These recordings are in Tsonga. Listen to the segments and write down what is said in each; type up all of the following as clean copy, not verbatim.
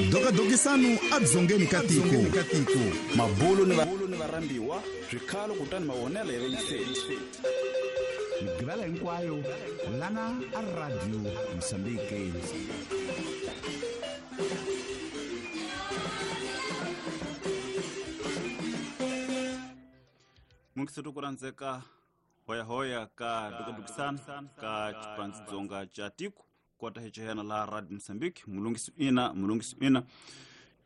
Dokadokisano edzongeni ka tiko. Mabulo ni varhambiwa, swikhalo kutani mavonelo ya vayingiseri. Migqivela hinkwayo lana a Radio Mozambique. Mungiseto ku rhandzeka hoyahoya ka dokadokisano ka xipandzidzonga xa tiko kota hi chehena laha Radio Mozambique. Mulungisi ina, mulungisi ina,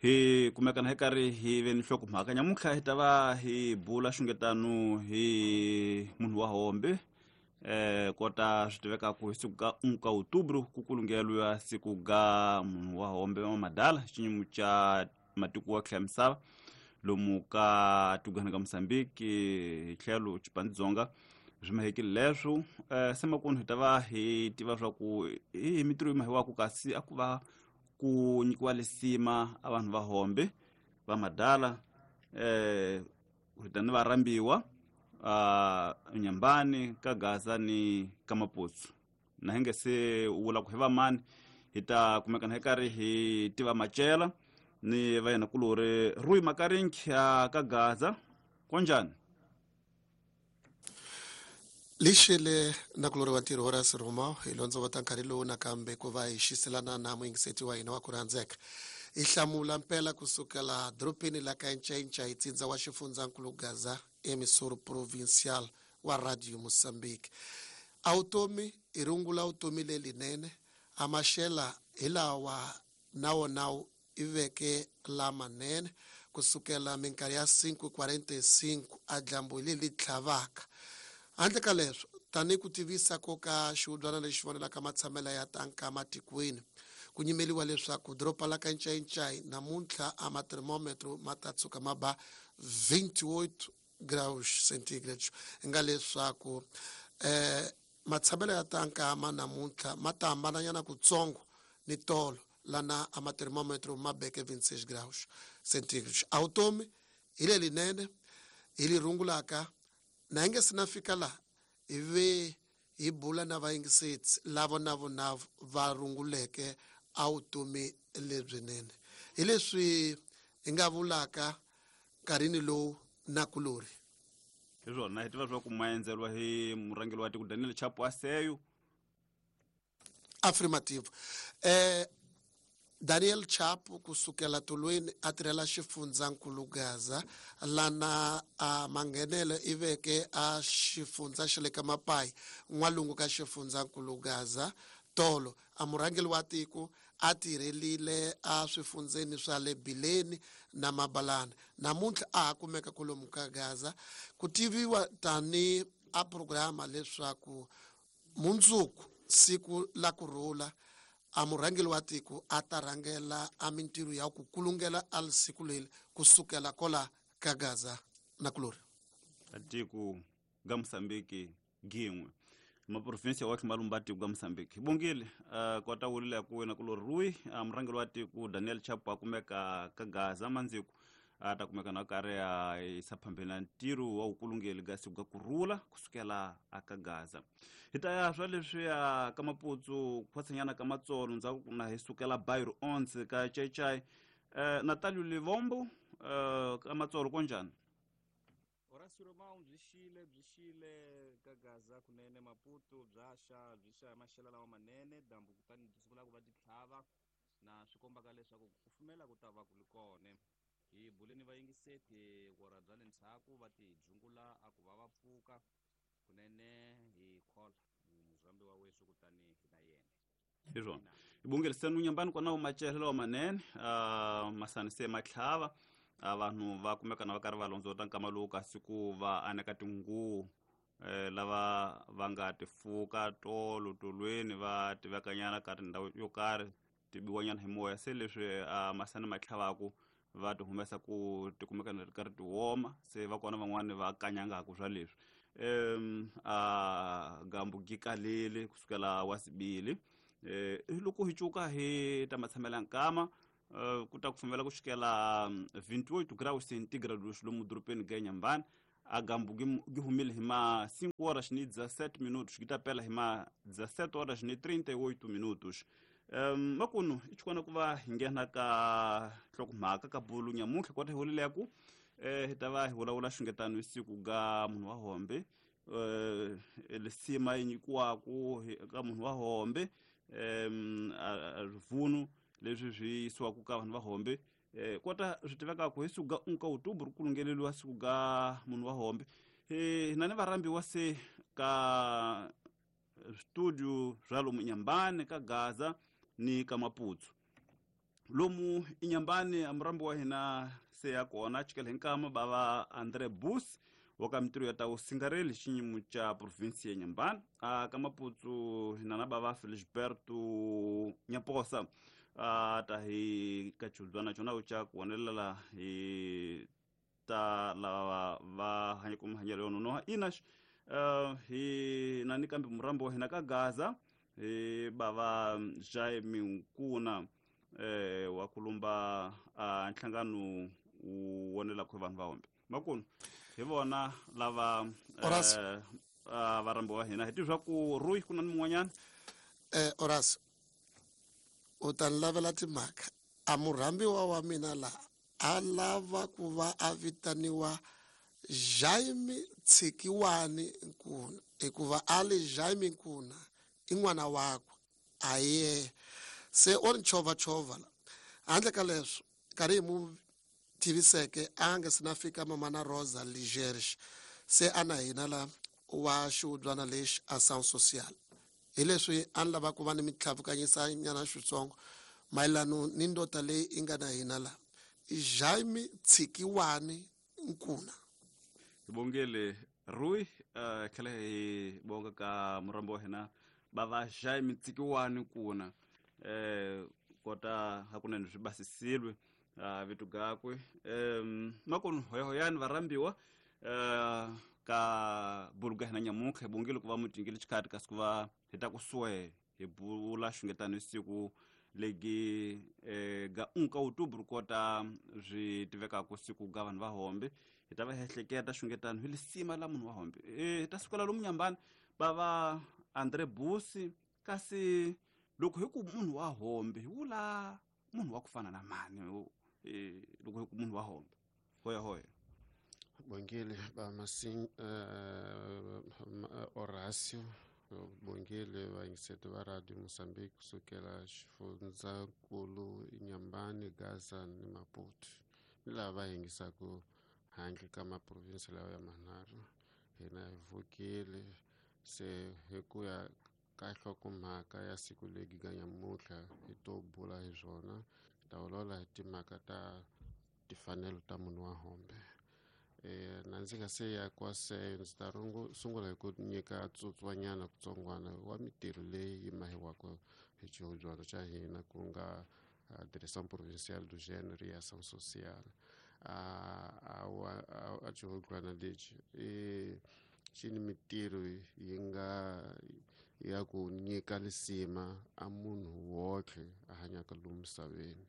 hi kumekana hi karhi hi ve ni nhlokomhaka nyamuntlha. Hi ta va hi bula xungetano hi munhu wa hombe, kota swi tivekaku hi siku ka 1 ka outubro ku kulungeliwa siku ga munhu wa hombe wa madala, xinyimu xa matiko wa tlhela misava lomu ka tigwana ka Mozambique hi tlhelo xipandzidzonga swi mahekile leswo. Se makunu hi ta va hi tiva swa ku hi mintirho yi mahiwaku, kasi a ku va ku nyikiwa lisima a vanhu va hombe va madala. Hi ta ni varhambiwa Nyambani ka Gaza ni ka Maputsu, na hi nge se vula ku hi vamani. Hi ta kumekana hi karhi hi tiva macela ni va yena kulori Rui Makarinki ka Gaza. Konjani? Lixile na kulori wa ntirho Horace Roma. Hi londzovota nkarhi lowu nakambe ku va hi xiselana na muyingiseti wa hina wa ku rhandzeka. Hi hlamula mpela kusukela dorobeni la ka Ncainca, hi tsindza wa xifundzankulu Gaza, emissor provincial wa Radio Mozambique. A vutomi hi rungula vutomi lelinene, a maxela hi lawa na wona i veke lamanene kusukela minkarhi ya 5:45, a dyambu hi leli tlhavaka. Handle ka leswo, tanihi ku tivisa ko ka xihubyana lexi vonelaka matshamelo ya tanka matikweni, ku nyimeliwa leswaku doroba la ka Ncayincai namuntlha a mathermometro ma ta tshuka ma ba 28 graus centigrades, nga leswaku matshamelo ya tanka ma namuntlha ma ta hambananyana kutsongo ni tolo lana a mathermometro ma beke 26 graus centigrades. A vutomi hi lelinene hi li rungulaka na hi nge se na fika laha hi ve hi bula na vayingiseti lavo na vona va runguleke a vutomi lebyinene, hi leswi hi nga vulaka nkarhini lowu na kulori. Hi swona, hi tiva swa ku maendzeriwa hi murhangeri wa tiko Daniel Chapo Aseyo. Affirmative. Daniel Chapo kusukela tolweni a tirhela xifundzankulu Gaza, lana a manghenelo i veke a xifundza xa le ka Mapai, n'walungu ka xifundzankulu Gaza. Tolo a murhangeri wa tiko a tirhelile a swifundzeni swa le Bileni na Mabalana. Namuntlha a ha kumeka kwalomu ka Gaza, ku tiviwa tani a programa leswaku mundzuku siku la kurhula a murhangeri wa tiko a ta rhangela a mintirho ya ku kulungela a siku leri kusukela kola ka Gaza na kulori. Tiko ga Mozambique gin'we maprovinsia wa tlhuma tiko ga Mozambique bongile. Kota wulile ku wena kulori Rui, murhangeri wa tiko Daniel Chapo a kumeka ka Gaza mandziku, a ta kumeka na karhi a yisa phambeni na ntirho wa vukulungeli ga siku ga kurhula kusukela aka Gaza. Hi ta ya swa leswiya ka Maputsu khwatsanyana ka Matsolo, ndzhaku na hi sukela Bairro 11 ka Chaichai. Natalio Livombo, ka Matsolo konjani? Horace Romao, byi xile, byi xile ka Gaza kunene. Maputo bya xa, byi xa maxelo lawa manene, dyambu kutani byi sungula ku va byi tlhava, na swi kombaka leswaku ku kufumela ku ta va ku ri kona. Hi buleni vayingiseti vora bya le ndzhaku va ti dzungula a ku va va pfuka kunene. Hi khola muzambi wa wesu kutani hi na yena. Hi swona, hi bongeriseni unyambani kona macele lawa manene, masani se matlhava, vanhu va kumeka na va karhi va londzota nkama lowu kasi ku va aneka tinguvu, lava va nga tifuka tolo tolweni va tivekanyana ka tindhawu yo karhi ti biwanyana hi moya. Se leswi masani ma tlhavaku va ti humesa ku ti kumeka na ri karhi ti woma, se va kona van'wani va kanyangaku swa leswi. A gambu gi kalele kusukela wa sibili. Loko hi cuka hi ta matshamela nkama, ku ta kufumela ku xikela 28 graus centigrade lomu dorobeni ga Nyambani. A gambu gi humile hi ma 5 horas ni 17 minutos, gi ta pela hi ma 17 horas ni 38 minutos. Makunu i xikona ku va hi nghena ka nhlokomhaka ka bulu nyamuntlha kota hi vulileku hi ta va hi vulavula xungetano hi siku ga munhu wa hombe, lisima yi nyikiwaku ka munhu wa hombe, rivunu leswi swi yisiwaku ka vanhu va hombe, kota swi tivekaku hi siku ga 1 ka Outubro ku lungeleliwa siku ga munhu wa hombe. Hina ni varhambiwa se ka studio swa lomu Inhambane ka Gaza ni ka Maputo. Lomu Inhambane a murambi wa hina se ya kona chikele hi nkama bava André Bus wa ka mitirho ya ta vusingareli xinyimo xa provinsi ya Inhambane. A ka Maputo hina na bava Felisberto Nyaposa a ta hi ka xihubyana xona xa ku vonelela hi ta lava va hanyaka mahanyelo yo nonoha. Ina hi na ni kambe murambi wa hina ka Gaza hi bava Jaime Nkuna wa kulumba nhlangano wu vonelaka hi vanhu va hombe. Makunu hi vona lava varhambi wa hina hi tiva ku Rui ku na ni mun'wanyana. Horace u ta ni lavela timhaka a murhambiwa wa mina laha a lava ku va a vitaniwa Jaime Tshikiwani Nkuna, hikuva a li Jaime Nkuna i n'wana wakwe a ye se o ni chovachovha la. Handle ka leswo nkarhi hi mu tiviseke a nga se na fika mama na Rosa Ligerge se a na hina la wa xihubyana lexi a Sound Social, hi leswi a ni lava ku va ni mitlhavukanyisa nyana xitsongo mayelano ni ndota leyi yi nga na hina la, Jaime Tshikiwani Nkuna. Hi bongele Rui, tlhela hi bonga ka murambi wa hina bava Jaime Tshikiwani Nkuna, kota hakunene swi basisilwe vito gakwe. Makunu hoyahoyani varhambiwa ka buluga hina nyamuntlha hi bongile ku va mutingile xikhati kasi ku va hi ta kusuhi hi bula xungetano hi siku legi ga 1 ka Outubro kota swi tivekaka siku ga vanhu va hombe. Hi ta va hi ehleketa xungetano hi lisima la munhu wa hombe. Hi ta sukela lomu Nyambani bava André Busi, kasi loko hi ku munhu wa hombe hi vula munhu wa ku fana na mani? Loko hi ku munhu wa hombe hoya hoya. Bongile ba Masin Horacio, bongile vayingiseti va Radio Mozambique kusukela xifundzankulu Inhambane, Gaza ni Maputo, ni lava va yingisaka handle ka maprovinsi lawa ya manharhu. Hina hi vukile se hi ku ya ka nhlokomhaka ya siku legi ga nyamuntlha hi to bula hi swona, hi ta vulavula hi timhaka ta timfanelo ta munhu wa hombe. Na ndzi nga se ya kwaseyo ndzi ta sungula hi ku nyika tsutswanyana kutsongwana wa mitirho leyi yi mahiwaka hi xihubyana xa hina ku nga Direção Provincial do Gênero e Ação Social. A xihubyana lexi i xi ni mitirho yi nga ya ku nyika lisima a munhu wotlhe a hanyaka lomu misaveni.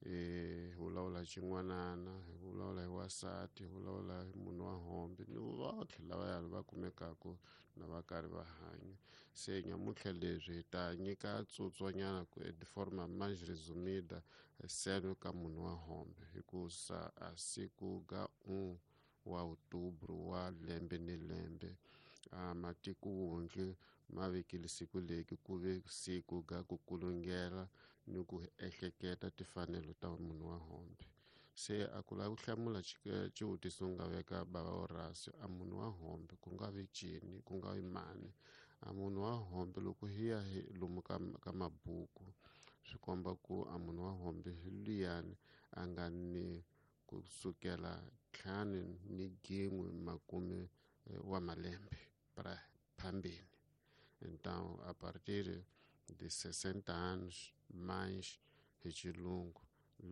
Hi vulavula hi xin'wanana, hi vulavula hi wansati, hi vulavula hi munhu wa hombe ni votlhe lavaya va kumekaka na va karhi va hanya. Se nyamuntlha leswi hi ta nyika tsutswanyana ku de forma mais resumida seno ka munhu wa hombe, hikusa a siku ga 1 wa Outubro wa lembe ni lembe matiko wondle ma vekile siku leki ku ve siku ga ku kulungela ni ku ehleketa timfanelo ta munhu wa hombe. Se a ku lava ku hlamula xivutiso nga veka bava Horacio, a munhu wa hombe ku nga vi cini ku nga vi mani? A munhu wa hombe loko hi ya hi lomu ka mabuku swi komba ku a munhu wa hombe hi luyani a nga ni kusukela 5 ni 1 makume wa malembe para phambili. Então, a partir de 60 anos mais hi xilungu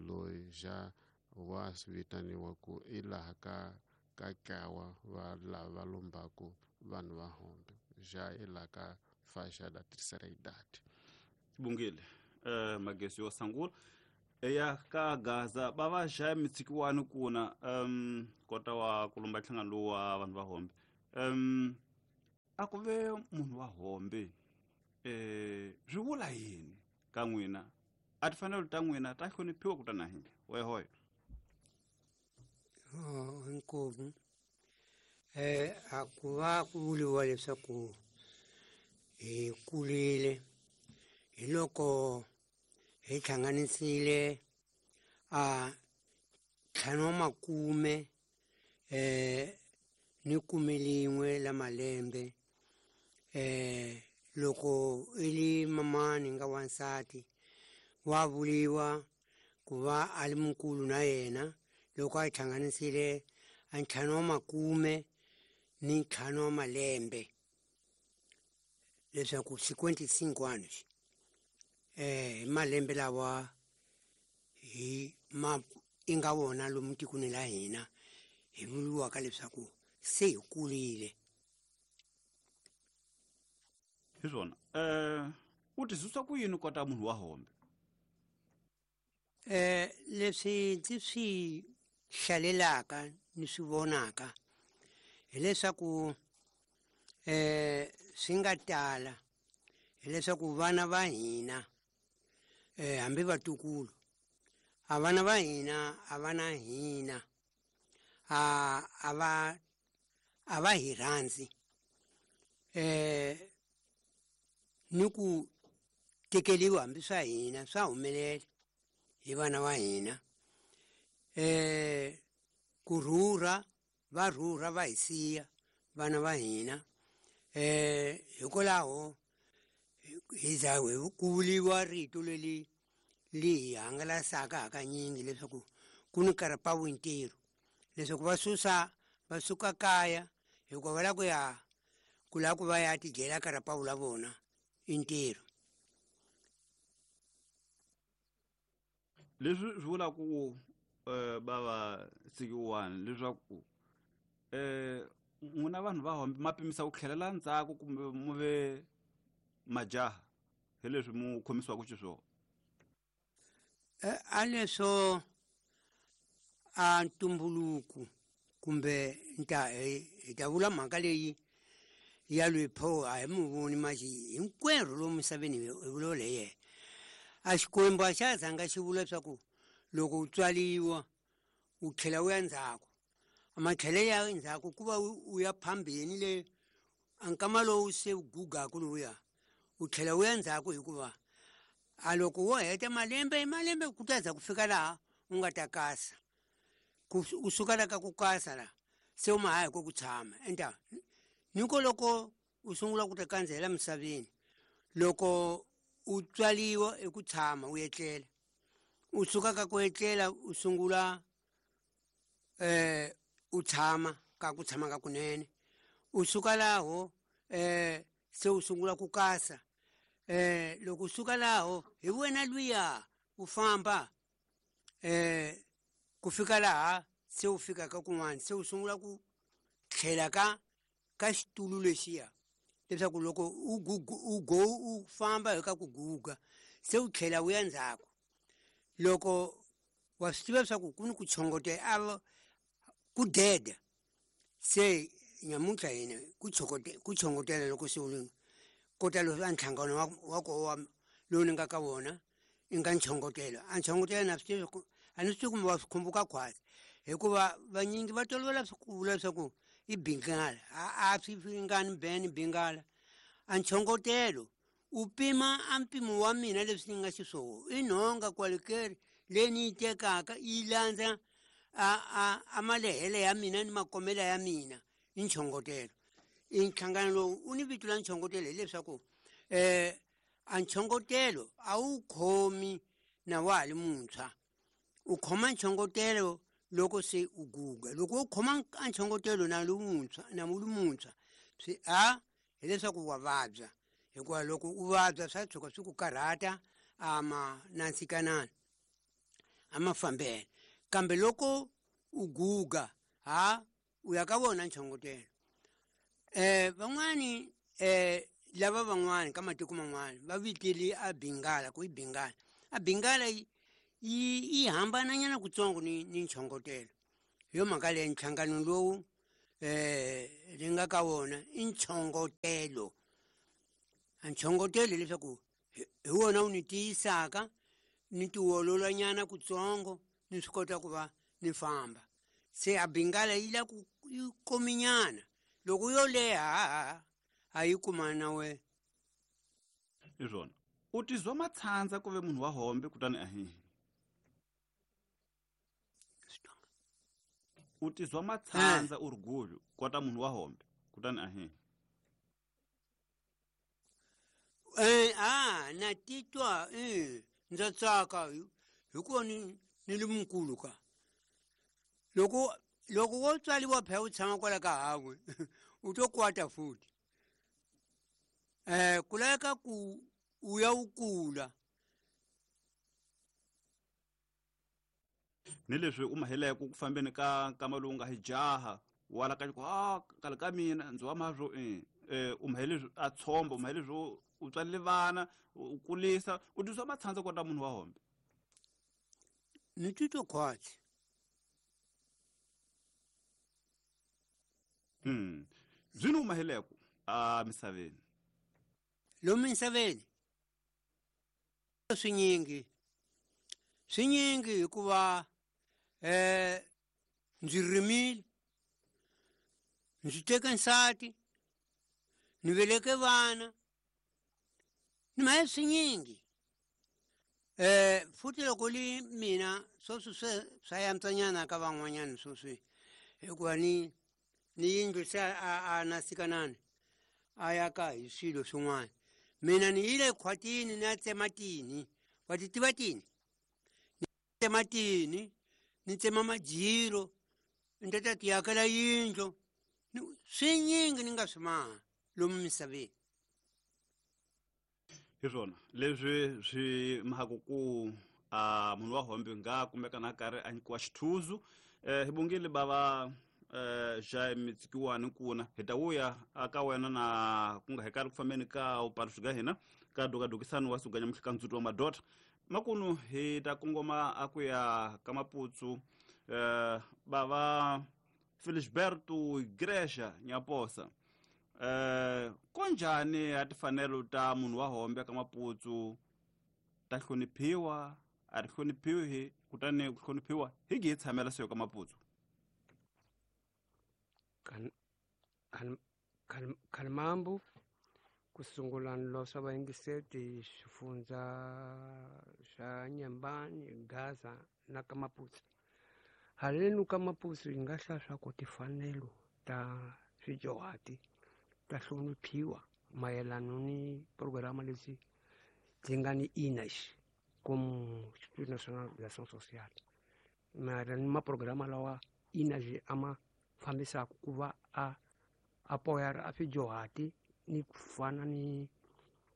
loyi ja wa vitaniwa ku i laha ka ntlawa va lava lombaku vanhu va hombe, ja i laha ka faixa da terceira idade. Bongile magesi yo sangula eya ka Gaza bava Jaime Tshikiwani Nkuna, kota wa kulumba nhlangano lowu wa vanhu va hombe. A ku ve munhu wa hombe swi vula yini? ka n'wina a tifanelo ta n'wina ta hloniphiwa ku tana hina hoyahoya. Oh, inkomu a ku va ku vuriwa leswaku hi kurile hi loko hi hlanganisile a 50 wa makume ni 11 la malembe. Loko i li mamani nga wansati wa vuriwa ku va a li mukulu na yena loko a hlanganisile a 50 wa makume ni 5 wa malembe, leswaku 55 anos malembe lawa hi ma i nga wona lomu tikweni la hina hi vuriwaka leswaku se hi kurile. Hi swona. U tisusa ku yini kota munhu wa hombe? Leswi ndzi swi hlalelaka ni swi vonaka hileswaku swi nga tala hileswaku vana va hina hambi vatukulu a vana va hina a va na hina a va hi rhandzi ni ku tekeriwa hambi swa hina swa humelela hi vana va hina. Ku rhurha va rhurha va hi siya vana va hina. Hikwalaho hi za ku vuriwa rito leri li hi hangalasaka hakanyingi leswaku ku ni karapawu ntirho, leswaku va susa va suka kaya hikuva va lava ku ya ku lava ku va ya tidyela karapawu la vona i ntirho. Leswi swi vula ku bava sikiwani leswaku n'wina vanhu va hombe ma pimisa ku tlhelela ndzhaku kumbe mu ve majaha hi leswi mu khomisiwaka xiswona? A leswo a ntumbuluko kumbe hi ta vula mhaka leyi ya loyi pho a hi mu voni maxi hinkwerhu lomu misaveni hi vulavula hi yena. A Xikwembu a xa zanga xi vula leswaku loko u tswariwa u tlhela u ya ndzhaku, a matlhele ya ndzhaku ku va u ya phambeni le a nkama lowu se u gugaku lowuya u tlhela u ya ndzhaku, hikuva a loko wo heta malembe malembe ku ta za ku fika laha u nga ta kasa, u suka la ka ku kasa la se u ma ha hi ko ku tshama. Enta niko loko u sungula ku ta kandzela misaveni, loko u tswariwa i ku tshama u etlela, u suka ka ku etlela u sungula u tshama ka ku tshama ka kunene, u suka laho se u sungula ku kasa. Loko u suka laho hi wena luya u famba ku fika laha se u fikaka kun'wana, se u sungula ku tlhela ka xitulu lexiya, leswaku loko u go u famba hi ka ku guga se u tlhela u ya ndzhaku. Loko wa swi tiva leswaku ku ni ku chongotela a ku deda, se nyamuntlha hina ku chongotela loko se u ri kota leswi a nhlangano wa koho wa lowu ni nga ka wona i nga nchongotelo. A nchongotelo na swi tivi ku a ni swi tivi kumbe wa swi khumbuka khwatsi, hikuva vanyingi va tolovela ku vula leswaku i bingala, a swi ringani beni bingala. A nchongotelo u pima a mpimo wa mina leswi ni nga xiswona i nhonga kwalekeri leyi ni yi tekaka yi landza a malehele ya mina ni makomela ya mina i nchongotelo. I nhlangano lowu u ni vito la nchongotelo hileswaku a nchongotelo a wu khomi na wa ha li muntshwa, u khoma nchongotelo loko se u guga. Loko u khoma a nchongotelo na lomuntshwa na wu li muntshwa swi a hileswaku wa vabya, hikuva loko u vabya swa tshuka swi ku karhata a ma nantsikanani a ma fambela. Kambe loko u guga ha u ya ka vona nchongotelo. Van'wani lava van'wani ka matiko man'wani va vitile a bingala ku i bingala. A bingala yi hambananyana kutsongo ni nchongotelo. Hi yo mhaka leyi nhlangano lowu ri nga ka wona i nchongotelo. A nchongotelo hileswaku Hi wona wu ni tiyisaka, ni tiololanyana kutsongo, ni swi kota ku va ni famba. Se a bingala yi la ku yi kominyana, loko yo leha a yi kumana na wena. Hi swona, u tizwa matshandza ku ve munhu wa hombe kutani ahihi. U tizwa matshandza u ri gulu kota munhu wa hombe kutani ahihi. Na titwa ndza tsaka hikuva ni li mukulu ka. Loko wo tswariwa phela u tshama kwala ka hawe u to kwata futhi. Ku laveka ku u ya u kula. Ni leswi u maheleke ku fambeni ka nkama lowu nga hi jaha wala ka ku kale ka mina ndzi wa mazwo u mahele a tshomba, u mahele swo u tswalile vana, u kulisa, u tizwa matshandza kota munhu wa hombe. Ni titwa khwatsi. Byi u maheleko a misaveni? Lomu misaveni swinyingi hikuva ndzi rimile, ndzi teke nsati, ni veleke vana, ni mahe swinyingi. Futhi loko li mina sweswi swa yantswanyana ka van'wanyana sweswi, hikuva ni yindlu se a na sikanani a ya ka hi swilo swin'wana. Mina ni yile khwatini ni ya tsema tini, wa ti tiva tini? Ni tsema tini, ni tsema majiro, ni ta ti akela yindlu. Swinyingi ni nga swi maha lomu misaveni. Hi swona leswi swi mhaka ku a munhu wa hombe nga kumeka na karhi a nyikiwa xithuzu. Hi bongile bava Jaime Tsikiwani kuna hi ta vuya aka wena na ku nga hi karhi ku fambeni ka upaluxi ka hina ka dokadokisani wa suganya muhlika ndzuti wa madota. Makunu hi ta kongoma a ku ya ka Maputsu. Bava Felisberto Igreja Nyaposa, konjhani a tifanelo ta munhu wa hombe ka Maputsu ta hloniphiwa, a ri hloniphiwi, kutani ku hloniphiwa hi gi hi tshamela seyo ka Maputsu? Khalimambu ku sungula nlosa vayingiseti xifundza xa Nyambani, Gaza na ka Maputsu. Halenu ka Maputsu yi nga hlaya swa ku tifanelo ta swijohati ta hloniphiwa mayelana ni programa leti ti nga ni INAS comme Institut National d'Action Sociale. Mara ni maprograma lawa INAS a ma fambisaka ku va a apoyara a swijohati ni ku fana ni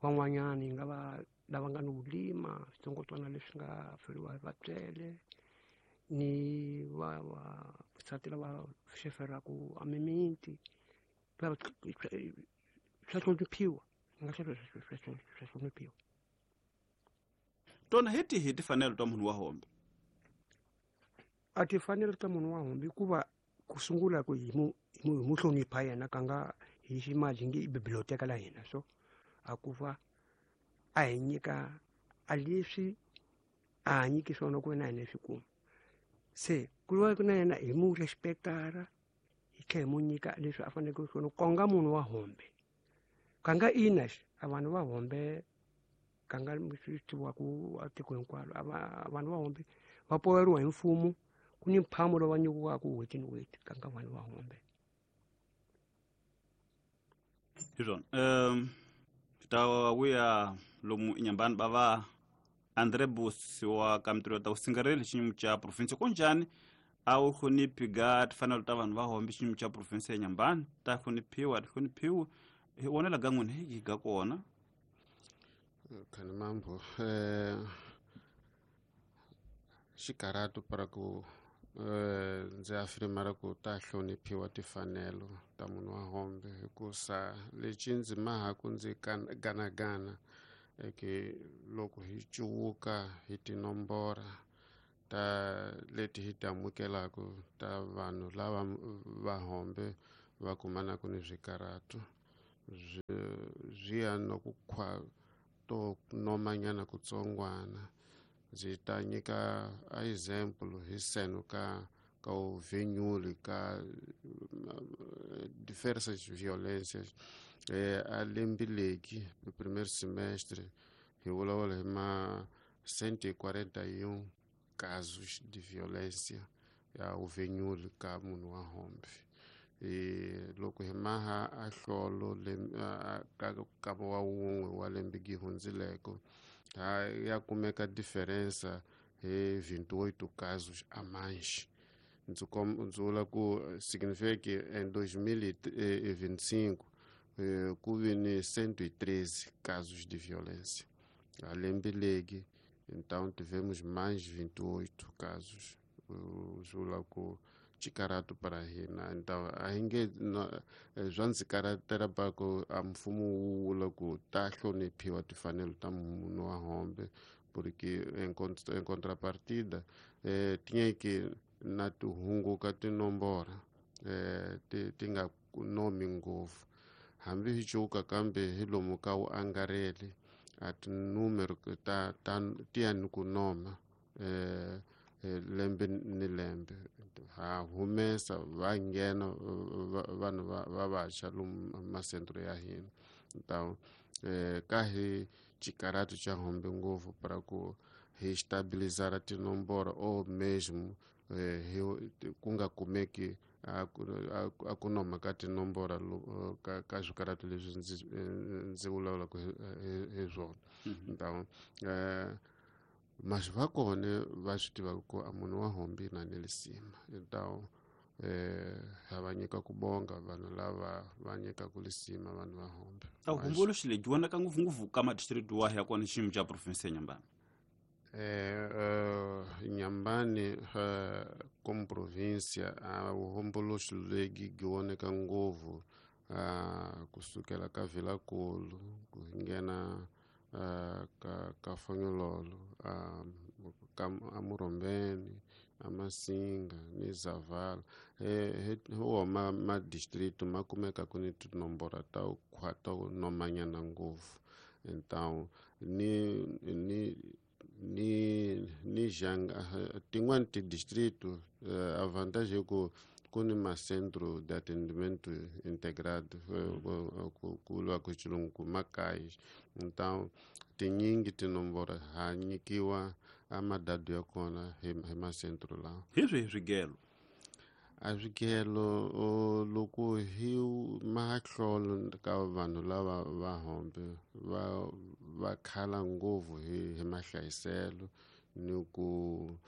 van'wanyani nga va lava nga ni vulima switsongwatsongwana leswi nga feriwa hi vatswele ni vavasati lava xeferaku a mimiti swa hloniphiwa, nga swa hloniphiwa. Tona hi tihi tifanelo ta munhu wa hombe? A tifanelo ta munhu wa hombe hikuva ku sungula ku hi mu hlonipha yena ka nga hi ximaji nge i biblioteka la hina, so a ku va a hi nyika a leswi a nyiki swona ku na hina swi kuma. Se ku va na yena hi mu respectara, hi tlhela hi mu nyika leswi a faneleke swona konga munhu wa hombe. Ka nga INAS a vanhu va hombe ka nga swi tiviwaku a tiko hinkwaro, a vanhu va hombe va poyeriwa hi mfumo, ku ni mphamo lowu va nyikiwaka n'hweti ni n'hweti ka nga vanhu va hombe. Hi swona. Ta vuya lomu Inyambani bava Andre Bus wa ka mintirho ta vusingareli xiyimo xa province. Kunjhani a wu hloniphi ga tifanelo ta vanhu va hombe xiyimo xa province ya Nyambani? Ta hloniphiwa, a ti hloniphiwi? Hi vonela ga n'wina hi ga kona. Khalimambu, xikarhatu para ku ndzi afirma ra ku ta hloniphiwa tifanelo ta munhu wa hombe, hikusa lexi ndzi mahaku ndzi ganagana eke loko hi cuwuka hi tinombora ta leti hi ti amukelaka ta vanhu lava va hombe va kumanaka ni swikarhatu swi ya na ku to nomanyana kutsongwana. Ndzi ta nyika a example hi seno ka uvenyuli ka diversas violências. A lembe leki no primeiro semestre hi vulavula hi ma 141 casos de violência ya uvenyuli ka munhu wa hombe. Loko hi maha a hlolo ka wa wun'we wa lembe gi hundzileko ya kumeka diferença hi 28 casos a mais. Ndzi vula ku significa que em 2025 ku vi ni 113 casos de violência. A lembe legi, então tivemos mais 28 casos. Vula ku xikaratu para hina. Então a hi nge swa ndzi karatela pa ku a mfumo wu vula ku ta hloniphiwa timfanelo ta munhu wa hombe, porque em contrapartida tinyeke na ti hunguka tinomboro ti nga nomi ngopfu. Hambi hi cuka kambe hi lomu ka wu angarheli a tinumero ta ti ya ni ku noma lembe ni lembe. Ha humesa va nghena vanhu va vantshwa lomu masentro ya hina. Então ka hi xikaratu xa hombe ngopfu para ku hi stabilizar tinomboro ou mesmo ku nga kumeki a ku noma ka tinomboro ka swikaratu leswi ndzi vulavulaka hi swona. Então mas va kona va swi tivaka ku a munhu wa hombe na ni lisima. Então ha va nyika ku bonga vanhu lava va nyikaka lisima vanhu va hombe. A vuhumbuluxi lebyi vonaka ngopfungopfu ka madistrikiti wahi ya kona xiyimo xa province ya Nyambani? Nyambani como província a vuhumbuluxi lebyi byi voneka ngopfu kusukela ka Vilankulu ku nghena ka Fonyololo, ka Murombeni, a Masinga ni Zavala. Hi wona madistrito ma kumeka ku ni tinomboro ta to nomanyana ngopfu. Então ni ni ni ni janga tin'wani tidistrito a vantagem é ku ku ni macentro de atendimento integrado ku vuriwa ku xilungu ku makaya. Então tinyingi tinomboro ha nyikiwa a madadu ya kona hi macentro lawa. Hi swihi swigelo? A swigelo loko hi mahlolo ka vanhu lava va hombe va khala ngopfu hi mahlayiselo ni ku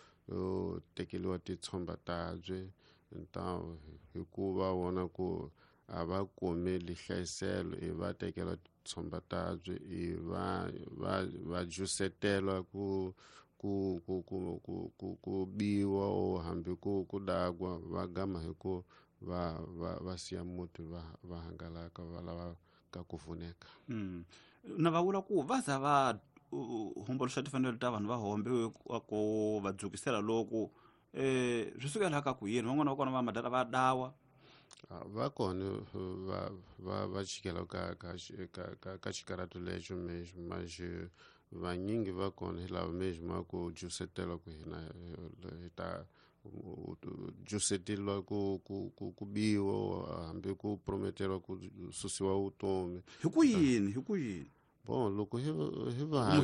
tekeriwa titshomba tabye. Então hikuva vona ku a va kumeli hlayiselo i va tekela titshomba tabye i va va va jusetela ku ku ku ku ku ku ku biwa o hambi ku ku dakwa va gama hi ku va va va siya muti va va hangalaka va lava ka ku pfuneka. Na va vula ku va za va humbuluxa timfanelo ta vanhu va hombe ku va dzukisela loko swi sukela ka ku yini van'wana va kona va madala va dawa va kona va va va chikela ka ka ka ka xikaratu lexo mesmo, mas vanyingi va kona hi lava mesmo ku jusetela ku hina hi ta juseteriwa ku ku ku ku biwa hambi ku prometeriwa ku susiwa vutomi. Hi ku yini hi ku yini? Bon, loko hi hi va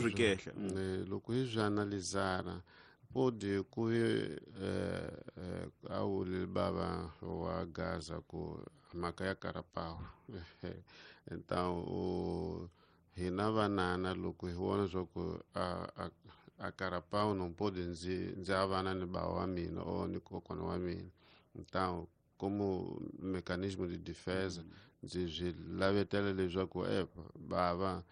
loko hi swi analizara pode ku a wuli bava wa Gaza ku mhaka ya Karapawu. Então hina vanana loko hi vona swa ku a Karapawu não pode ndzi avana ni bava wa mina ou ni kokwana wa mina. Então como mecanismo de defesa ndzi swi lavetela leswaku bava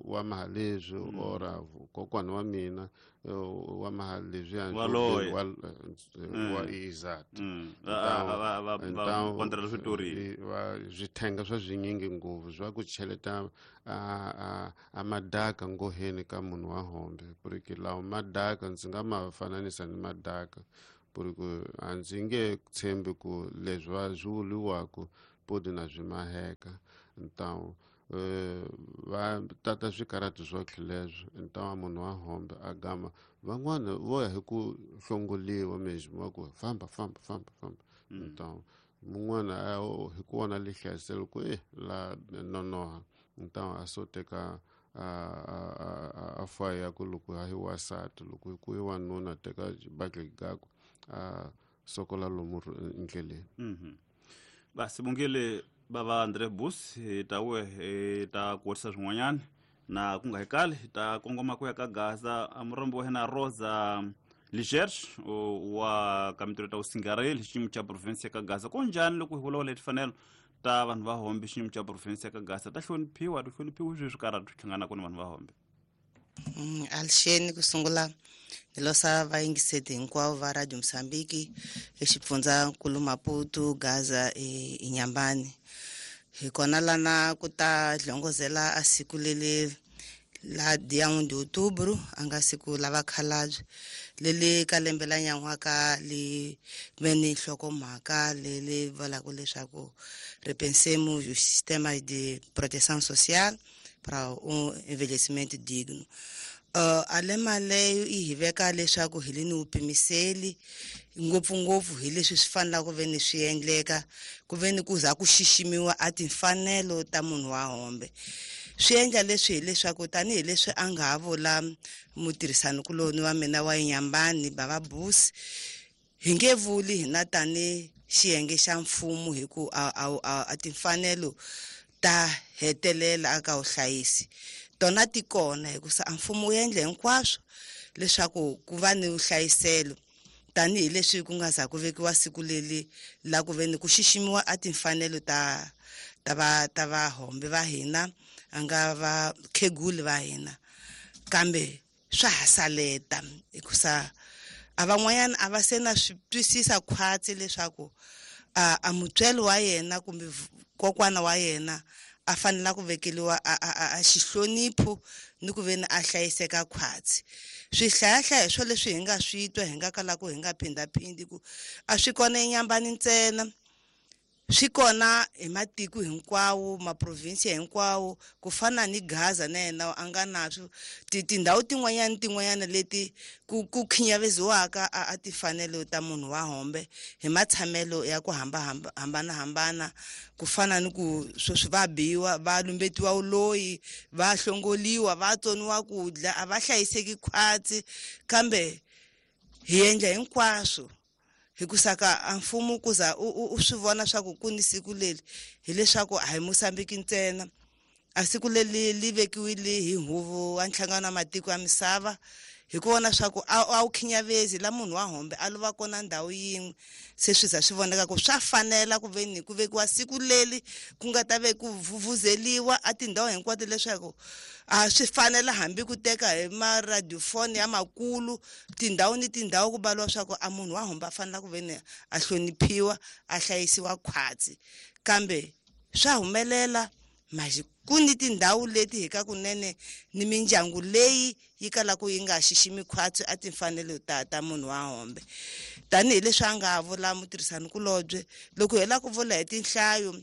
wa maha leswi ora kokwana wa mina wa maha leswiya wa exato. Swithenga swa swinyingi ngopfu swa ku cheleta a madaka ngoheni ka munhu wa hombe, porque lawa madaka ndzi nga ma fananisa ni madaka, porque a ndzi nge tshembi ku leswi va swi vuriwaka podi na swi maheka. Então Va tata swikarati swotlhe leswo ntawa munhu wa hombe a gama van'wana vo ya hi ku hlongoliwa mesmo va ku famba famba famba famba ntawa mun'wana hi ku vona lihlayiselo ku e la nonoha ntawa a so teka a faya ku loko a hi wasati loko ku i wanuna teka xibakele gakwe a sokola lomu ndleleni. Basibongile bava Andre Bus hi ta we hi ta kuwatisa swin'wanyana na ku nga hi kali hi ta kongoma ku ya ka Gaza murombo wa hina Rosa Ligerge wa ka mintirho ta vusingareli xiyimo xa province ya ka Gaza. Ko njhani loko hi vulavula hi timfanelo ta vanhu va hombe xiyimo xa province ya ka Gaza ta hloniphiwa ti hloniphiwi sweswi karhi swi hlanganaka ni vanhu va hombe? Alixeni ku sungula ni losa vayingiseti hinkwavo va Radio Mozambique exifundzankulu Maputo, Gaza Inyambani. Hi kona lana ku ta hlongozela a siku leli la dia 1 de outubro, a nga siku la vakhalabye leli ka lembe la nyan'waka li ve ni nhlokomhaka leli vulaka leswaku repensemos o sistema de proteção social para um envelhecimento digno. A lema leyo yi hi veka leswaku hi le ni vupimiseli ngopfungopfu hi leswi swi fanelaka ku ve ni swi endleka ku ve ni ku za ku xiximiwa a timfanelo ta munhu wa hombe. Swi endla leswi hileswaku tanihileswi a nga ha vula mutirhisanikuloni wa mina wa Inyambani bava Busi, hi nge vuli hina tani xiyenge xa mfumo hi ku a timfanelo ta hetelela aka vuhlayisi tona ti kona, hikusa a mfumo wu endle hinkwaswo leswaku ku va ni vuhlayiselo tanihileswi ku nga za ku vekiwa siku leli la ku ve ni ku xiximiwa a timfanelo ta ta va ta vahombe va hina a nga va kheguli va hina. Kambe swa ha saleta hikusa a van'wanyana a va se na swi twisisa khwatsi leswaku a mutswari wa yena kumbe kokwana wa yena a fanela ku vekeliwa a xihlonipho ni ku ve ni a hlayiseka khwatsi. Swihlayahlaya swo leswi hi nga swi twa hi nga kalaka hi nga phindhaphindi ku a swi kona eNyambani ntsena, swi kona hi matiko hinkwawo, maprovinsi hinkwawo, ku fana ni Gaza na yena a nga na swo tindhawu tin'wanyana tin'wanyana leti ku khinyaveziwaka a timfanelo ta munhu wa hombe hi matshamelo ya ku hambanahambana, ku fana ni ku sweswi va biwa, va lumbetiwa vuloyi, va hlongoliwa, va tsoniwa ku dya, a va hlayiseki khwatsi. Kambe hi endla hinkwaswo hikusa ka a mfumo ku za u swi vona swa ku ku ni siku leri, hileswaku a hi Mozambique ntsena. A siku leri li vekiwile hi huvo wa nhlangano wa matiko ya misava hi ku vona swa ku a wu khinyavezi la munhu wa hombe a lova kona ndhawu yin'we, se swi za swi voneka ku swa fanela ku ve ni ku vekiwa siku leri ku nga ta ve ku vuvuzeliwa a tindhawu hinkwato leswaku a swi fanela hambi ku teka hi maradiofoni ya makulu tindhawu ni tindhawu ku baliwa swa ku a munhu wa hombe a fanela ku ve ni a hloniphiwa, a hlayisiwa khwatsi. Kambe swa humelela maxi ku ni tindhawu leti hi ka kunene ni mindyangu leyi yi kalaka yi nga xiximi khwatsi a timfanelo ta munhu wa hombe. Tanihileswi a nga vula mutirhisanikulobye, loko hi lava ku vula hi tinhlayo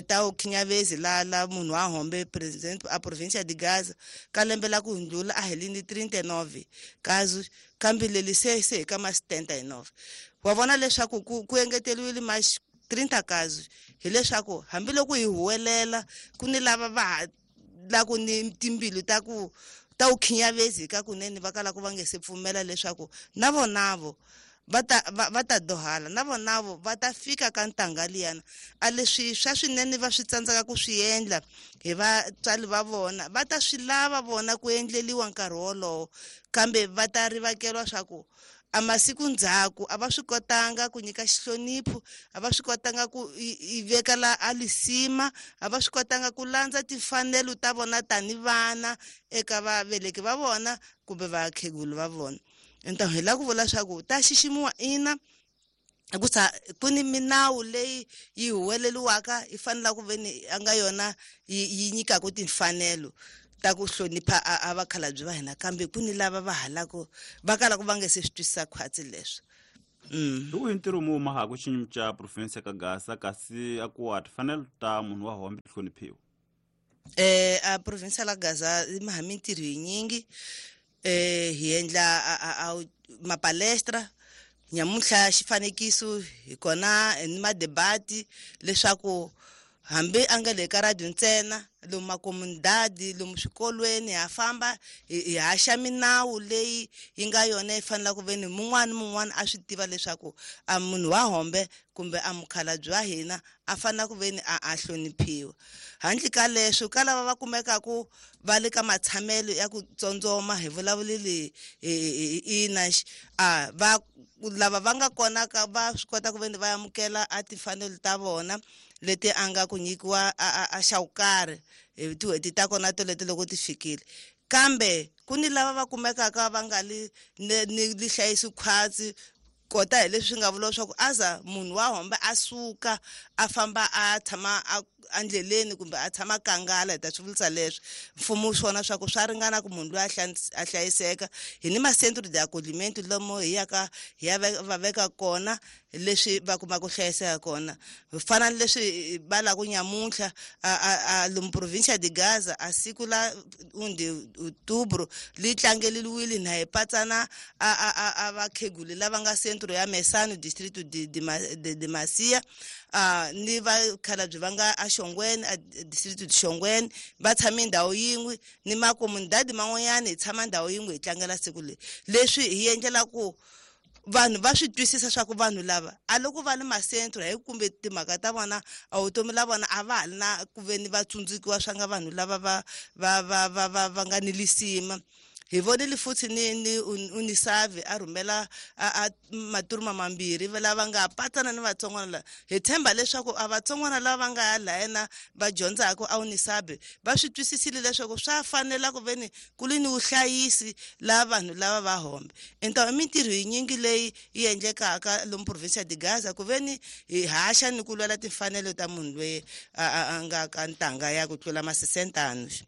ta vukhinyavezi la munhu wa hombe president a provincia de Gaza ka lembe la ku hundlula a hi li ni 39 kazi, kambe leli se hi ka ma 79. Wa vona leswaku ku engeteriwile ma 30 kazi, hileswaku hambiloko hi huwelela ku ni lava va ha la ku ni timbilu ta ku ta vukhinyavezi ka kunene va kalaka va nge se pfumela leswaku na vonavo va ta dohala, na vonavo va ta fika ka ntanga liyana. A leswi swa swinene va swi tsandzeka ku swi endla hi vatswari va vona, va ta swi lava vona ku endleliwa nkarhi wolowo, kambe va ta rivakeriwa swa ku a masiku ndzhaku a va swi kotanga ku nyika xihlonipho, a va swi kotanga ku i veka la a lisima, a va swi kotanga ku landza timfanelo ta vona tani vana eka vaveleki va vona kumbe vakhegulu va vona. Enta hi lava ku vula swa ku ta xiximiwa ina, hikusa ku ni minawu leyi yi huweleliwaka yi fanelaka ku ve ni a nga yona yi nyikaka timfanelo ta ku hlonipha a vakhalabye va hina, kambe ku ni lava va halaka va kalaka va nge se swi twisisa khwatsi leswo. Hi wihi ntirho mu mahaka xiyimo xa province ka Gaza kasi a ku wa timfanelo ta munhu wa hombe ti hloniphiwa? A provincia la Gaza ma mintirho yinyingi, hi endla a mapalestra nyamuntlha xifanekiso hi kona ni madebati leswaku hambi a nga le ka radio ntsena, lomu makomunidadi, lomu swikolweni ha famba hi haxa minawu leyi yi nga yona yi fanelaka ku veni mun'wana ni mun'wana a swi tiva leswaku a munhu wa hombe kumbe a mukhalabye wa hina a fanela ku veni a hloniphiwa. Handle ka leswo, ka lava va kumekaku va le ka matshamelo ya ku tsondzoma, hi vulavuleli ina a va lava va nga kona ka va swi kota ku veni va amukela a timfanelo ta vona leti a nga ku nyikiwa a xa ku karhi hi tin'hweti ta kona toleto loko ti fikile. Kambe ku ni lava va kumekaka va nga li ni li hlayisi khwatsi, kota hi leswi nga vula leswaku aza munhu wa hombe a suka a famba a tshama endleleni kumbe a tshama kangala, hi ta swi vulisa leswi mfumo swona swa ku swa ringana ku munhu loyi a hlayiseka. Hi ni ma-centre de accogliment lomu hi yaka hi ya va veka kona leswi va kuma ku hlayiseka kona. Fana ni leswi va lava ku nyamuntlha a lomu provincia de Gaza a siku la 1 de outubro li tlangeliwile na hi patsana a vakheguli lava nga centro ya Mesano, distrito de Macia, ni vakhalabye va nga a Xongweni, a distrito de Xongweni, va tshame ndhawu yin'we ni makomunidadi man'wanyana, hi tshama ndhawu yin'we hi tlangela siku leri. Leswi hi endlela ku vanhu va swi twisisa swa ku vanhu lava a loko va le masentro hi kumbe timhaka ta vona a vutomi la vona a va ha li na ku ve ni va tsundzukiwa swa nga vanhu lava va nga ni lisima. Hi vonile futhi ni unisavi a rhumela a maturuma mambirhi lava nga patsana ni vatsongwana lava. Hi tshemba leswaku a vatsongwana lava va nga ya lahena va dyondzaka a unisabi va swi twisisile leswaku swa fanela ku veni ku li ni vuhlayisi la vanhu lava va hombe. Enta i mintirho yinyingi leyi yi endlekaka lomu provincia de Gaza ku veni hi haxa ni ku lwela timfanelo ta munhu loyi a nga ka ntanga ya ku tlula masisentano. Hi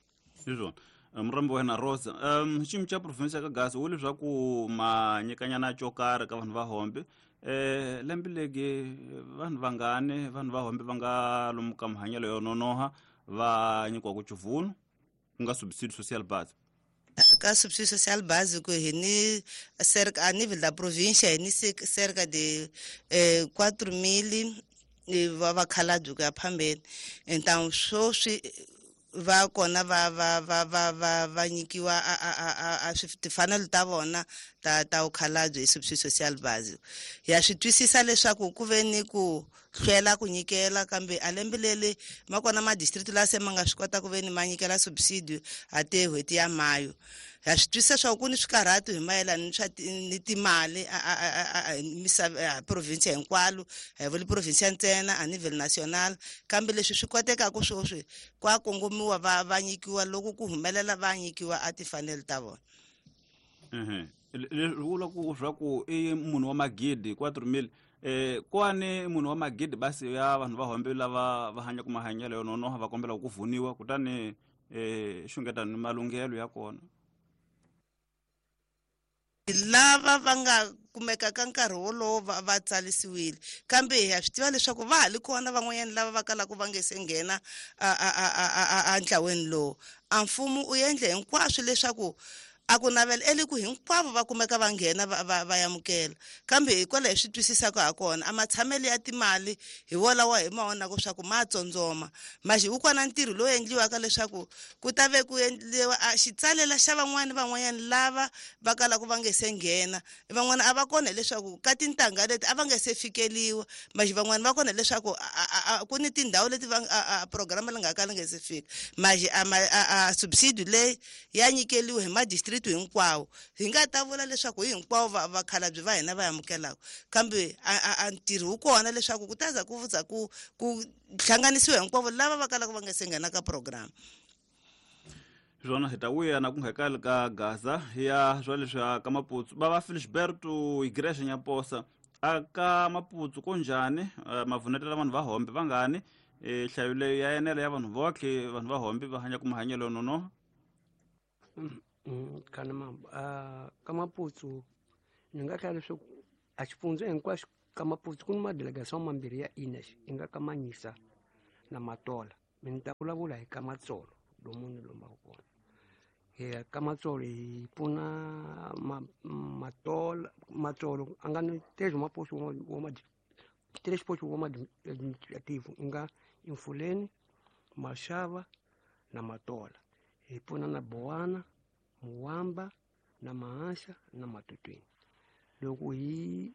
swona, murambi wa hina Rosa, xiyimo xa province ya ka Gaza wu leswaku ma nyikanyana xo karhi ka vanhu va hombe, lembe legi vanhu vangani vanhu va hombe va nga lomu ka mahanyelo yo nonoha va nyikiwaku chivunu ku nga subsidio social base? Ka subsidio social básico hi ni cerca a nível da província, hi ni cerca de 4000 va vakhalabye ku ya phambeni. Então swoswi va kona va nyikiwa a timfanelo ta vona ta vukhalabye hi subsidio social básico. Ya swi twisisa leswaku ku ve ni ku hlwela ku nyikela, kambe a lembe leri ma kona ma-district la se ma nga swi kota ku ve ni ma nyikela subsidio a te n'hweti ya mayo. Ha swi twisisa swa ku ni swikarhatu hi mayelana ni swa ni timali a misava province hinkwalo, a hi vuli province ntsena, a nível national. Kambe leswi swi kotekaka sweswi kwa kongomiwa va nyikiwa loko ku humelela va nyikiwa a timfanelo ta vona. Leswi vula ku swa ku i munhu wa magidi 4000, kwani munhu wa magidi basi ya vanhu va hombe lava va hanyaka mahanyelo yo nonoha va kombela ku vuniwa, kutani xungeta ni malunghelo ya kona. Lava va nga kumeka ka nkarhi wolowo va tsarisiwile, kambe ha swi tiva leswaku va ha li kona van'wanyana lava va kalaka va nge se nghena a ntlaweni lowu. A mfumo u endle hinkwaswo leswaku a ku navela eli ku hinkwavo va kumeka va nghena va amukela, kambe hikwalaho hi swi twisisaka ha kona a matshamelo ya timali hi wolawa hi ma vonaka swa ku ma tsondzoma maxi wu kona ntirho lowu endliwaka leswaku ku ta ve ku endliwa a xitsalela xa van'wani van'wanyana lava va kalaka va nge se nghena. Van'wana a va kona hileswaku ka tintangha leti a va nge se fikeliwa, maxi van'wani va kona hileswaku ku ni tindhawu leti va a programa li nga ka li nge se fika. Maxi a subsidio leyi ya nyikeliwa hi ma-district hinkwawo, hi nga ta vula leswaku hi hinkwavo vakhalabye va hina va amukelaka, kambe a ntirho wu kona leswaku ku ta za ku za ku hlanganisiwa hinkwavo lava va kalaka va nga se nghena ka program. Swona, hi ta vuya na ku nga kali ka Gaza ya swa leswi ka Maputsu va va Felisberto Igreja Nyaposa a ka Maputsu ko njhani, mavunetela vanhu va hombe vangani, nhlayo leyo ya enela ya vanhu votlhe vanhu va hombe va hanyaka mahanyelo yo nonoha? Kana ma ka Maputsu ni nga hlaya leswaku a xifundza hinkwaxo ka Maputsu ku ni madelegation mambirhi ya INES, i nga ka Manyisa na Matola. Mi ni ta vulavula hi ka Matsolo. lomu ni lombaka kona. Hi ka Matsolo hi pfuna Matola, Matsolo a nga ni três maposto três postos administrativo nga Infuleni, Maxava na Matola. Hi pfuna na Bowana, Muwamba na Mahaxa na Matutwini. Loko hi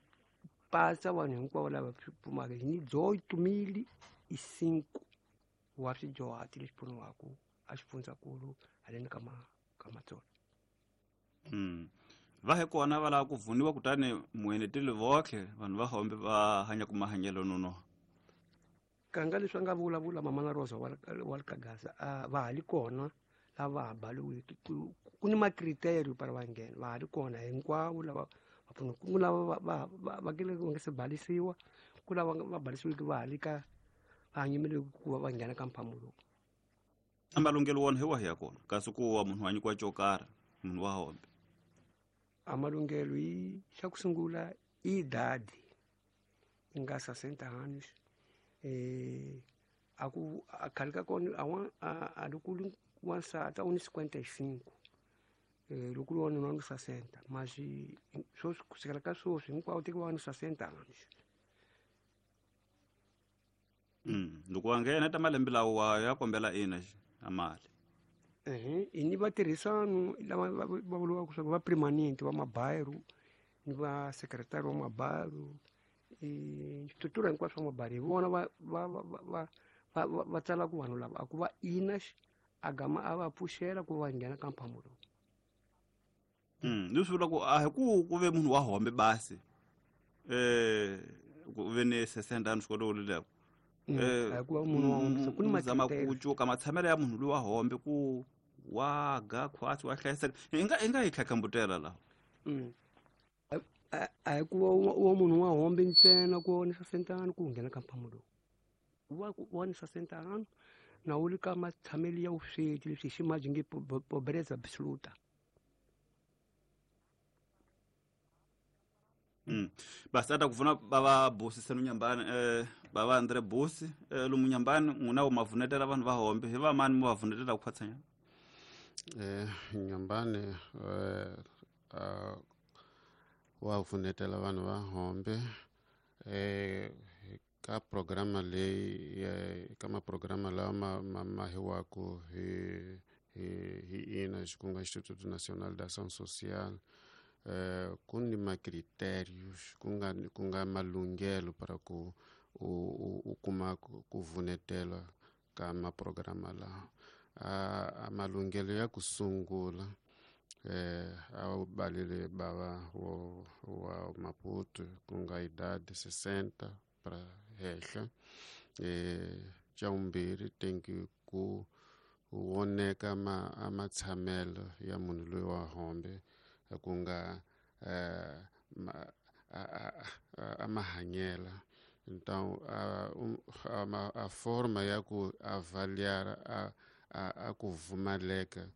pasa vanhu hinkwavo lava pfumaka hi ni 8005 wa swidyuhati leswi pfuniwaka a xifundzankulu haleni ka Matsolo. Va hi kona va lava ku vuniwa kutani mueneteli votlhe vanhu va hombe va hanya ku mahanyelo nonoha. Kanga leswi a nga vulavula mama na Rosa wa le ka Gaza, va ha li kona lava ha baliwiki. Ku ni makriterio para va nghena, va ha li kona hinkwavo lava va pfuna. Ku lava va kele va nga se balisiwa, ku lava va balisiwiki va ha li ka va hanyimele ku va va nghena ka mphamu lowu. A malunghelo wona hi wahi ya kona kasi ku wa munhu wa nyikiwa xo karhi munhu wa hombe? A malunghelo hi xa ku sungula i idade i nga 60 anos. A ku a khale ka kona a loko ri wansati a wu ni 55, loko ri wanuna ni 60, mas sweswi ku sukela ka sweswi hinkwavo tekiwa ni 60 anos. Loko wa nghena ta malembe lawa ya kombela ina a mali. Hi ni vatirhisano lava va vuriwaka swa ku va permanent va mabairo ni va secretary wa mabairo, switura hinkwaswo swa mabairo hi vona va tsalaka vanhu lava a ku va ina a gama a va pfuxela ku va nghena ka mphamu lowu. Leswi vula ku a hi ku ve munhu wa hombe basi ku ve ni 60 anos xikolo leko. A ku va munhu wa hombe ku ni zama ku cuka matshamelo ya munhu loyi wa hombe ku wa ga khwatsi wa hlayiseka. Hi nga hi tlhatlhambutela laha. A hi ku wa munhu wa hombe ntsena ku ni 60 anos ku nghena ka mphamu lowu. Wa ni 60 anos na wu ri ka matshamelo ya vusweti leswi hi ximaji nge pobreza absoluta. Basi ata kuvuna bava Busi senu Nyambani, bava Andre Busi lomu Nyambani n'wina wu mavunetela vanhu va hombe hi va mani mu va vunetela ku khwatsanya? Nyambani wa vunetela vanhu va hombe ka programa leyi ka maprograma lawa ma hiwaku hi ina ku nga Instituto Nacional de Ação Social. Ku ni macritérios ku nga malunghelo para ku u kuma ku vunetela ka maprograma lawa. A malunghelo ya ku sungula a wu balile bava wa Maputo ku nga idade 60 para henhla. Xa vumbirhi tenki ku voneka a matshamelo ya munhu loyi wa hombe ku nga a mahanyela. Então a forma ya ku avaliar a ku pfumaleka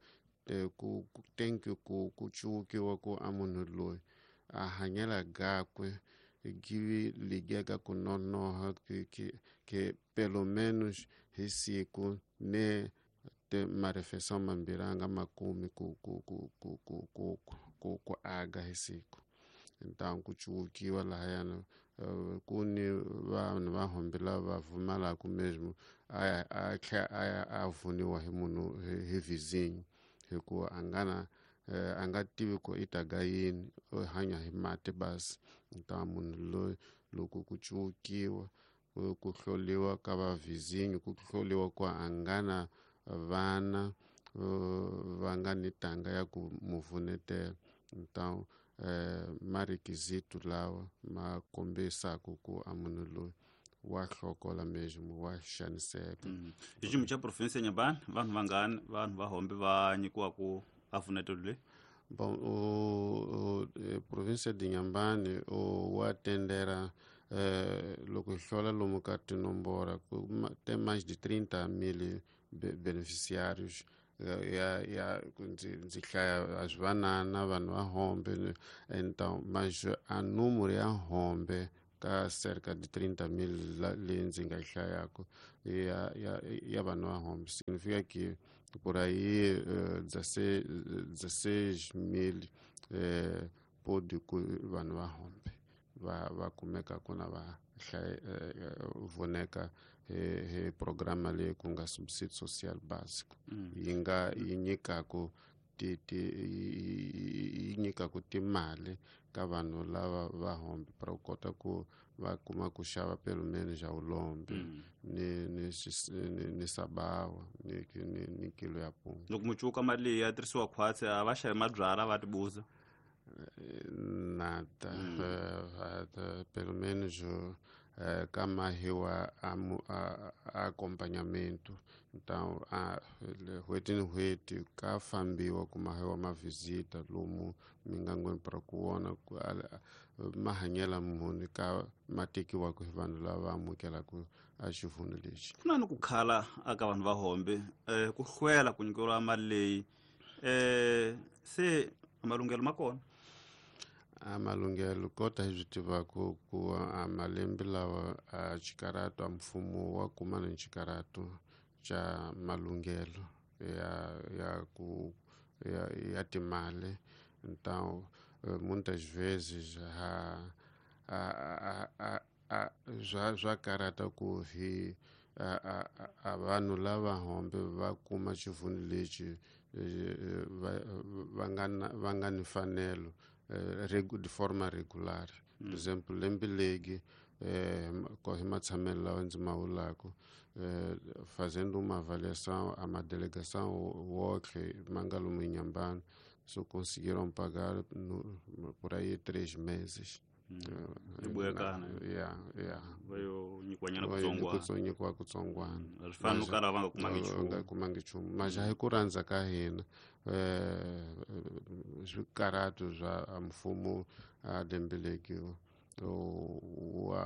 ku tenki ku cukiwa ku a munhu loyi a hanyela gakwe give ligeka ku nonoha que pelo menos hi siku ne te marefeição mambirhi a nga makumi ku aga hi siku. Então ku cukiwa lahayana ku ni vanhu va hombe lava pfumalaka mesmo a tlhela a vuniwa hi munhu hi vizinho hikuva a nga na a nga tivi ku i ta ga yini, u hanya hi mati basi. Então munhu loyi loko ku cukiwa ku hloliwa ka va vizinho, ku hloliwa ku a nga na vana va nga ni tanga ya ku mu vunetela. Então marequisito lawa ma kombisaka ku a munhu loyi wa hlokola mesmo wa xaniseka. Hi xiyimo xa province ya Nyambani vanhu vangani vanhu va hombe va nyikiwaku a vunetelo leyi? Bom, o província de Inhambane o atendera loko hi hlola lomu ka tinomboro tem mais de 30 mil beneficiários ya ndzi hlaya a swi vanana vanhu va hombe. Então mas a número ya hombe ka cerca de 30 mil leyi ndzi nga yi hlayaka ya vanhu va hombe significa que Por aí 16 mil pode ku vanhu va hombe va kumeka kuna va voneka he programa leyi ku nga subsídio social básico yi nga yi nyikaku ti ti yi nyikaku timali ka vanhu lava va hombe para ku kota ku va kuma ku xava pelo menos já ulombe ni sabawa ni kilo ya punga. Loko mucuka mali leyi ya tirhisiwa khwatsi a va xavi mabyalwa va tibuza. Nada. Pelo menos ka mahiwa a acompanhamento. Então n'hweti ni n'hweti ka fambiwa ku mahiwa mavisita lomu mingangweni para ku vona ku mahanyelo muni ka ma tekiwaka hi vanhu lava amukelaka a xivhuno lexi. Ku na ni ku khala aka vanhu va hombe ku hlwela ku nyikeriwa mali leyi se malunghelo ma kona. A malunghelo kota hi swi tivaka ku a malembe lawa a xikarato a mfumo wa kuma ni xikarato xa malunghelo ya ku ya timali. Então muitas vezes swa karata ku hi a vanhu lava hombe va kuma xivhuno lexi va nga ni mfanelo de forma regular. Por exemplo, lembe legi hi matshamelo lawa ndzi ma vulaka fazendo uma avaliação a uma delegação wotlhe ma nga lomu Inhambane só conseguiram pagar por aí 3 meses. Va yo nyikiwanyana kutsongwana. Nyikiwa kutsongwana. Swi fana no kala va nga kumangi nchumu. Nga kumangi nchumu. Mas hi ku rhandza ka hina swikaratu swa mfumo a lembe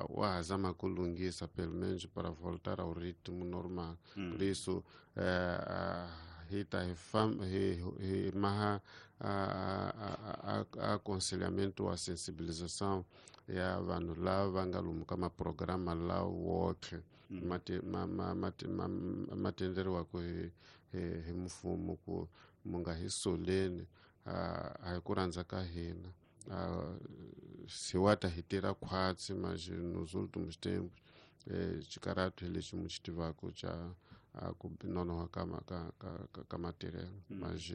wa ha zama ku lunghisa pelo menos para voltar ao ritmo normal. Por isso hi ta hi maha aconselhamento a sensibilização ya vanhu lava va nga lomu ka maprograma lawa wotlhe ma tenderiwaka hi mfumo ku mu nga hi soleni a hi ku rhandza ka hina. Se wa ta hi tirha khwatsi mas nos últimos tempos xikarato hi lexi mu xi tivaka xa ku nonoha ka matirhelo mas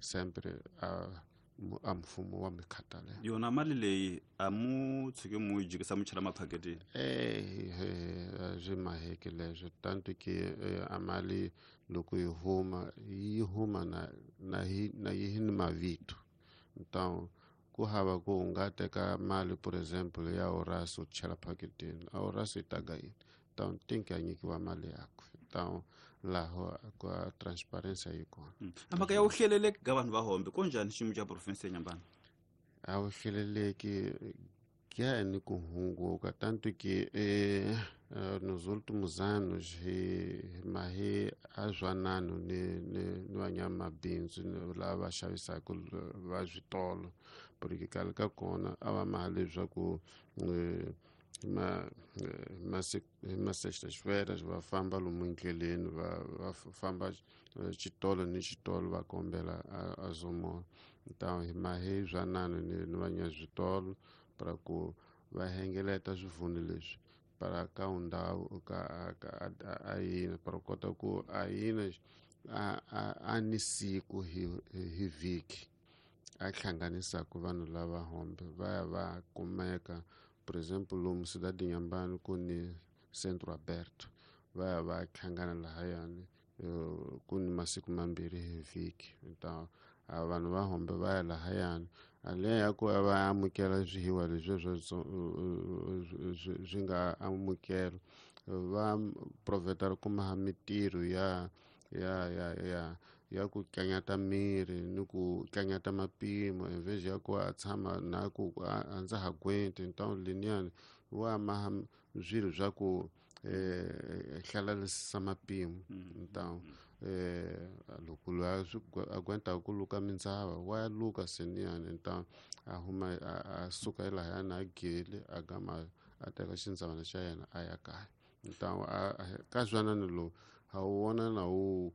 sempre a mfumo wa mi khathalela. Yona mali leyi a mu tshike mu yi jikisa mu chela maphaketini? Swi maheke leswo tanto ke a mali loko yi huma yi huma na yi ni mavito. Então ku hava ku u nga teka mali por exemplo ya Horácio u chela phaketini a Horácio yi ta ga yini. Então tem que a nyikiwa mali yakwe. Então laho ka transparência yi kona. A mhaka ya wu hleleleki ka vanhu va hombe ko njhani xiyimo xa province ya Inhambane? A wu hleleleki ya ni ku hunguka tanto que nos últimos anos hi mahi a zwanano ni vanyamabindzu lava xavisaka va switolo porque khale ka kona a va maha leswaku ma sextas-feiras va famba lomu endleleni va famba xitolo ni xitolo va kombela a zomola. Então hi mahi zwanano ni vanyaswitolo para ku va hengeleta swivhuno leswi para ka ndhawu ka a yina para kota ku a yina a ni siku hi vhiki a hlanganisaka vanhu lava hombe va ya va kumeka. Por exemplo lomu Cidade Inhambane ku ni Centro Aberto va ya va hlangana lahayani ku ni masiku mambirhi hi vhiki. Então vanhu va hombe va ya lahayani aleya ya ku va amukela swihiwa leswi swi nga amukela va proveta ku maha mitirho ya ya ya ya ya ku tlanyata miri ni ku tlanyata mapimo en vez ya ku a tshama na ku a ndza ha gwenti. Então liniyani wa maha swilo swa ku hlalarisisa mapimo. Então loko loyi a gwentaka ku luka mindzava wa luka seniyani. Então a huma a suka elahayani a gele a gama a teka xindzavana xa yena a ya kaya. Então ka zwanano lowu ha wu vona na wu